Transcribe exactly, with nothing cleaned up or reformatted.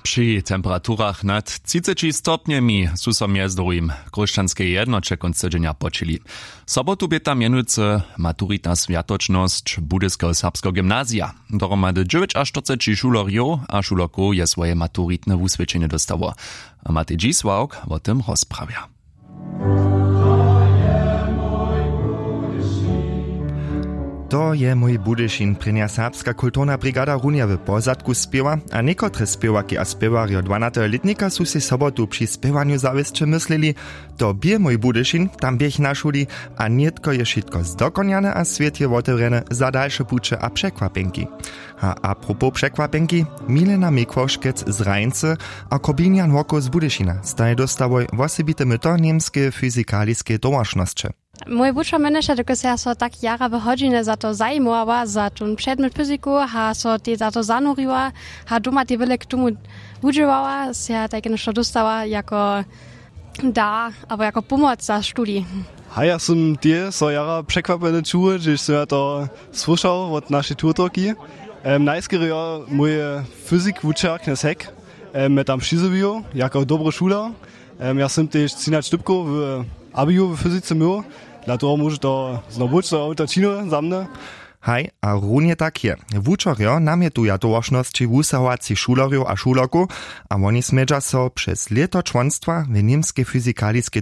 Při temperaturach nad třiceći stopnjemi su so mjez druhim w chróšćanskeje jednoće kónc tydźenja počili. Sobotu bě tam mjenujcy maturitna swjatočnosć budyskeho serbskeho gymnazija. Dohromady dźewjećaštyrceći šulerjow a šulerkow je swoje maturitne wuswědčenje dóstało. A matej dźisławk wo tym rozprawja. To je mój budyšin, prěnja serbska kulturna brigada runje w pozadku spěwa, a někotre spěwarki a spěwarjo dwanateho lětnika su sej sobotu při spěwanju zawěsće myslili: „To bě mój budyšin, tam běch na šuli, a nětko je wšitko zdokonjane a swět je wotewrjene za dalše puće a překwapjenki.“ A apropos překwapjenki, Milena Mikłoškec z Rajncy a Kobinjan Woko z Budyšina staj dóstałoj wosebite myto němskeje fyzikaliskeje towaršnosće. Mój wučer mjenyše, dokelž ja so tak jara w hodźinje za to zajimowała, za tón předmjet fyziku, a so tej za to zanuriła, a doma tej wjele k tomu wudźěłała, sej ja tajke něšto dóstała jako dar abo jako pomoc za studij. Haj, ja sym tež so jara překwapjeny čuł, hdźež sym ja to słyšał wot našej tutorki. Em, najskerje jo mój fyzik wučer Knjez Heck, em, mje tam přizjewił jako dobry šuler. Em, ja sym tež třinaće dypkow w abiju w fyzice měł, dla toho móže to znowu być, to je to činy za mnje. Haj, a runje tak je. Wučerjo namjetuja towaršnosći wusahowacych šulerjow a šulerkow, a woni smědźa so přez lěto čłonstwa w němskej fyzikaliskej